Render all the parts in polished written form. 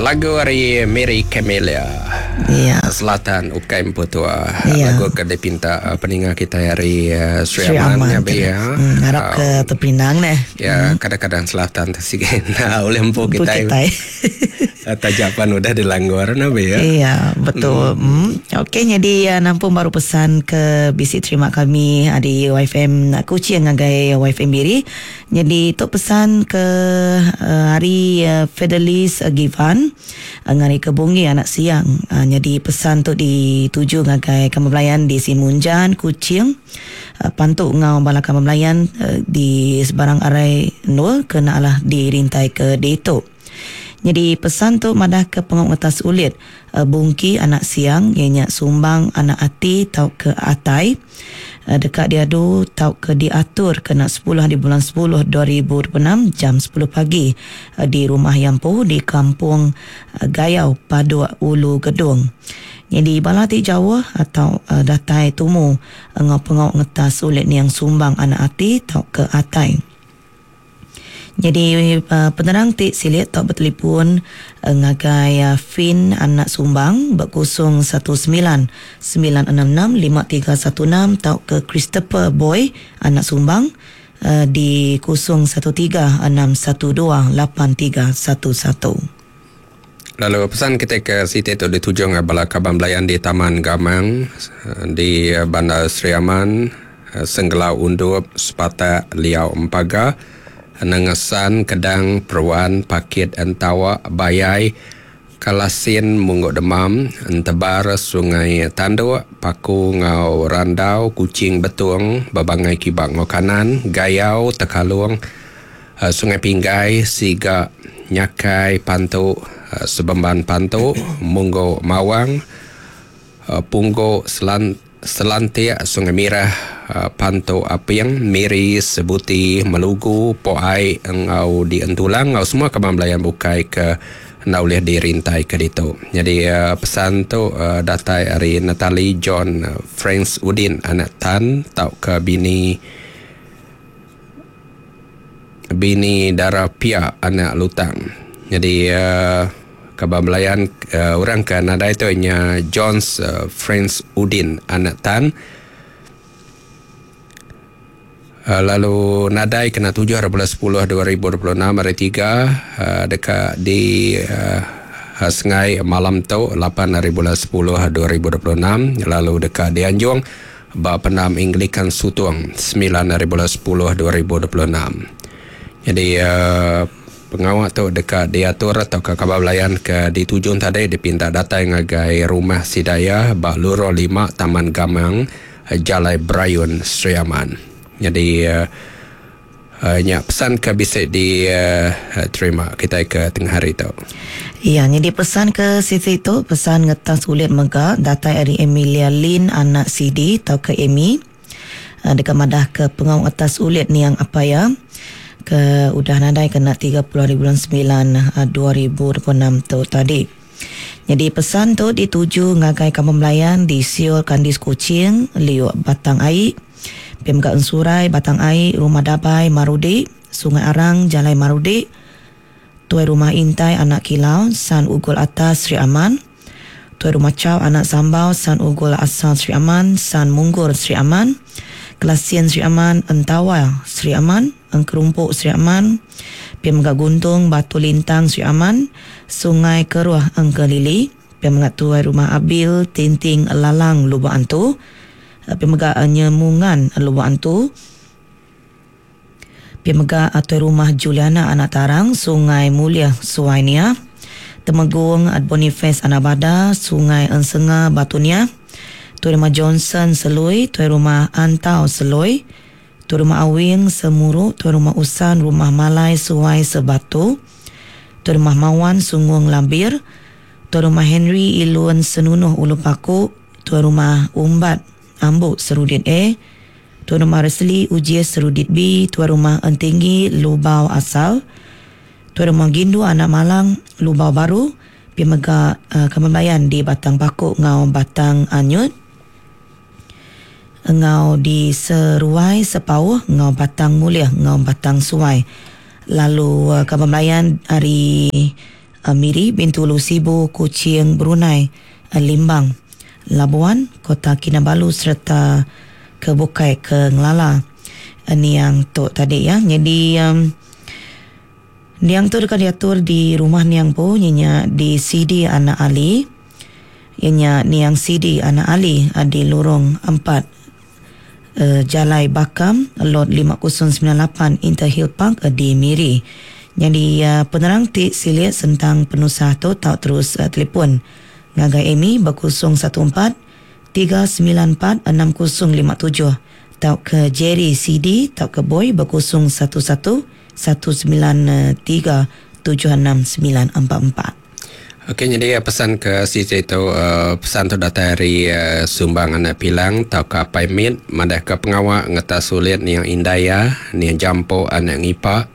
lagu ari Mary Camelia. Ya. Selatan ukai empu tua. Ya. Lagu ke dipinta eh, peninga kita ari eh, Sri Sri Aman Aman. ya be ya. Harap ke terpinang neh. Ya, kadang-kadang selatan tu sikit nah oleh empu Empu kita. kitai. Tajapan udah dilanggar nah be ya. Iya, betul. Okey, jadi nampung baru pesan ke bisi terima kami di YFM Kuching ngagai YFM Miri. Jadi tu pesan ke hari Fidelis Givan ngari ke Bunggi anak siang. Jadi pesan tu dituju ngagai kami belayan di Simunjan, Kuching. Pantu ngau bala kami belayan di sebarang arai endur ke nak alah dirintai ke ditu. Jadi pesan tu madah ke pengau ngetas ulit Bungki anak siang iya nya sumbang anak ati tauka atai deka diadu tauka diatur kena 10 hari bulan 10 2026 jam 10 pagi di Rumah Yampu di Kampung Gayau Paduk Ulu Gedong. Nyadi bala ti jauh atau datai tumu enggau pengau ngetas ulit niang sumbang anak ati tauka atai. Nyadi penerang ti silik tau betelipun ngagai Fin Anak Sumbang ba 019 966 5316 tauka Christopher Boy Anak Sumbang di 013 612 8311. Lalu pesan kita ke siti tu ditujung bala kaban belayan di Taman Gamang di Bandar Sri Aman, Senggelau Undup, Sepatak, Liau Empaga, Nengesan, Kedang, Peruan, Pakit Entawa, Bayai, Kalasin, Mungguk Demam, Entebar, Sungai Tanduk, Paku ngau Randau, Kuching Betung, Bebangai Kiba ngau Kanan, Gayau, Tekalung, Sungai Pinggai, Siga, Nyakai, Pantu, Sebemban Pantu, Mungguk Mawang, Pungguk Selan Selantik, Sungai Mirah, Pantu Aping, Miri, Sebuti, Melugu, Po Ai enggau di Entulang enggau semua kaban belayan bukai ke enda ulih dirintai ke ditu. Nyadi pesan tu datai ari Natalie John Franks Udin anak Tan tauka bini bini Dara Pia anak Lutang. Nyadi kaban belayan orang ke nadai tu inya Jones Franks Udin anak Tan lalu nadai kena 7 hari bulan 10 2026 hari 3 deka di sengai malam tu 8 hari bulan 10 2026 lalu deka dianjung ba pendam Anglican Sutong 9 hari bulan 10 2026. Jadi pengawa tu deka diatur atau ke kaban belayan ke ditujung tadi dipinta datai ngagai rumah Sidaya ba Lurong 5 Taman Gamang Jalai Brayun Sri Aman. Jadi nya pesan ke bisa diterima kita ke tengah hari tu. Ya, jadi pesan ke sisi tu pesan ngetas ulit mega datai ari Emilia Lin anak CD tau ke Amy. Deka madah ke pengau atas ulit niang apa ya ke udah nadai kena 30 hari bulan 9 2026 tu tadi. Jadi pesan tu dituju ngagai kampung Melayan di Siol Kandis Kuching, Liuk Batang Ai, PMK Ensurai, Batang Ai, Rumah Dabai, Marudi, Sungai Arang, Jalai Marudi, Tuai Rumah Intai, Anak Kilau, San Ugul Atas, Sri Aman, Tuai Rumah Chow, Anak Sambau, San Ugul Asal, Sri Aman, San Munggur, Sri Aman, Kelasian, Sri Aman, Entawa, Sri Aman, Engkerumpuk, Sri Aman, PMK Guntung, Batu Lintang, Sri Aman, Sungai Keruah, Engkelili, PMK Tuai Rumah Abil, Tinting Lalang, Lubuk Antu, PMK Nyemungan, Lubuk Antu, PMK Tuai Rumah Juliana, Anak Tarang, Sungai Mulia, Suainia, Temegung Boniface Anak Bada, Sungai Ensenga, Batunia, Tuai Rumah Johnson Selui, Tuai Rumah Antau Selui, Tuai Rumah Awing Semuru, Tuai Rumah Usan, Rumah Malai Suai Sebatu, Tuai Rumah Mawan Sungung Lambir, Tuai Rumah Henry Ilun Senunuh Ulu Paku, Tuai Rumah Umbat Ambuk Serudit A, Tuai Rumah Resli Ujie Serudit B, Tuai Rumah Entinggi Lubau Asal, Tuai Rumah Gindu Anak Malang Lubau Baru, pi mega Kembayan di Batang Paku ngau Batang Anyut, ngau di Seruai Sepauh ngau Batang Mulih ngau Batang Suai. Lalu Kembayan ari Miri, Bintulu, Sibu, Kuching, Brunei, Limbang, Labuan, Kota Kinabalu sereta ke bukai ke ngelala niang tu tadi ya. Jadi niang tu deka diatur di rumah niang pu nya di CD Anak Ali. Ianya niang CD Anak Ali di Lorong 4 Jalai Bakam Lot 5098 Interhill Park di Miri. Jadi penerang ti silik tentang penusah tu tau terus telefon ngagai Amy ba 014 394 6057 tau ke Jerry CD tau ke Boy ba 011 193 76944. Okey, jadi pesan ke siti tu pesan tu datai ari Sumbang Anak Pilang tau ke Apai Mit madah ke pengawa ngeta sulit niang indai iya niang Jampo Anak Ngipa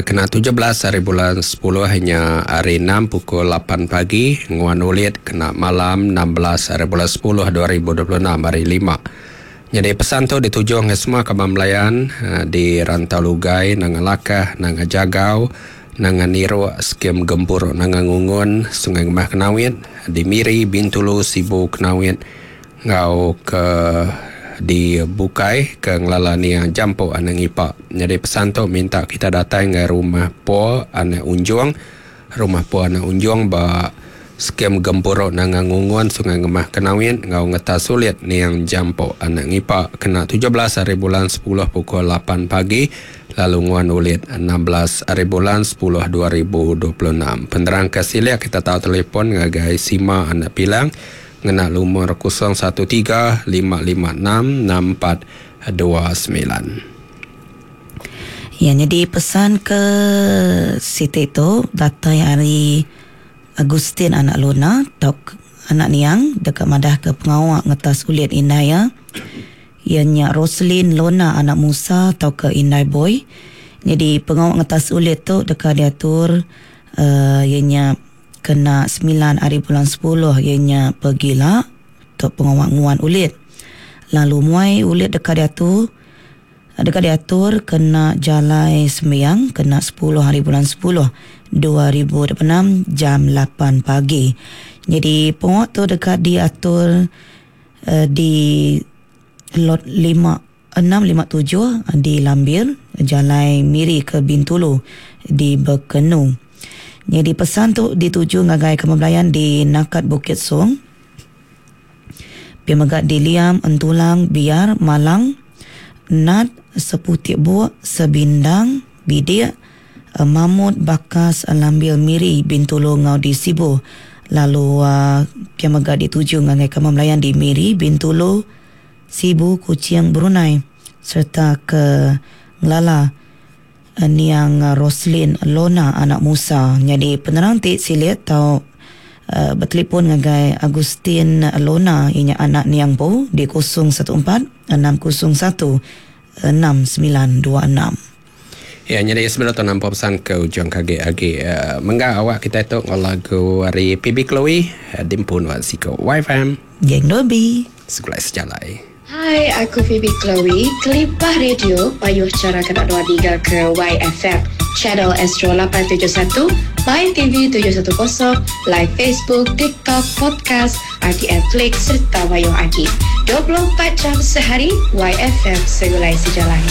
kena 17 hari bulan 10 nya hari 6 pukul 8 pagi nguan ulit kena malam 16 hari bulan 10 2026 hari 5. Jadi pesan tu dituju ke semua kaban belayan di Rantau Lugai, Nanga Lakah, Nanga Jagau, Nanga Niruk, Skim Gempur, Nanga Ngungun, Sungai Ngemah Kenawit, di Miri, Bintulu, Sibu, Kenawit, ngau ke di Bukai ke ngelala niang Jampo Anak Ngipa. Jadi pesan tu minta kita datang ke rumah Po Anak Unjung, rumah Po Anak Unjung ba Skim Gempuruk Nanga Ngungun, Sungai Ngemah Kenawit, ngau ngeta sulit niang Jampo Anak Ngipa kena 17 hari bulan 10 pukul 8 pagi lalu nguan ulit 16 hari bulan 10 2026. Penerang ke silik kita tahu telefon ngagai Sima Anak Pilang ngena lumur 013 556 6429. Ya, jadi pesan ke Siti tu datai hari Agustin Anak Luna tok anak niang dekat madah ke pengawak ngetas ulit indai ya. Ianya Roslyn Lona anak Musa atau ke Indai Boy. Jadi pengawak ngetas ulit tu dekat diatur ianya kena 9 hari bulan 10 ianya pergila tok pengawak nguan ulit. Lalu muai ulit dekat diatur kena jalai sembiang kena 10 hari bulan 10 2026 jam 8 pagi. Jadi pengawak tu dekat diatur di lot 657 di Lambir, Jalai Miri ke Bintulu di Bekenu. Jadi pesan tu dituju ngagai kemebelayan di Nakat Bukit Song, Pimegat di Liam, Entulang, Biar, Malang, Nat, Seputik Buak, Sebindang, Bidik, Mamut, Bakas, Lambil, Miri, Bintulu, Ngau di Sibu. Lalu Pimegat dituju ngagai kemebelayan di Miri, Bintulu, Sibu, Kuching, Brunei serta ke Ngelala niang Roslyn Lona anak Musa. Jadi penerang ti silit tau bertelefon ngagai Agustin Lona inya anak niang po di 014 601 6926. Ya, jadi sebelum tu nampak pesan ke ujung kaki agi menggak awak kita tu lagu hari PB Chloe dimpun wan siko YFM Geng Dobi Sekulai Sejalai. Hai, aku Phoebe Chloe. Kelipah radio, payuh cara kena 23 ke YFM. Channel Astro 871, My TV 710, live Facebook, TikTok, podcast, RTM Flix serta Wayuh Agi. 24 jam sehari, YFM Segulai Sejalai.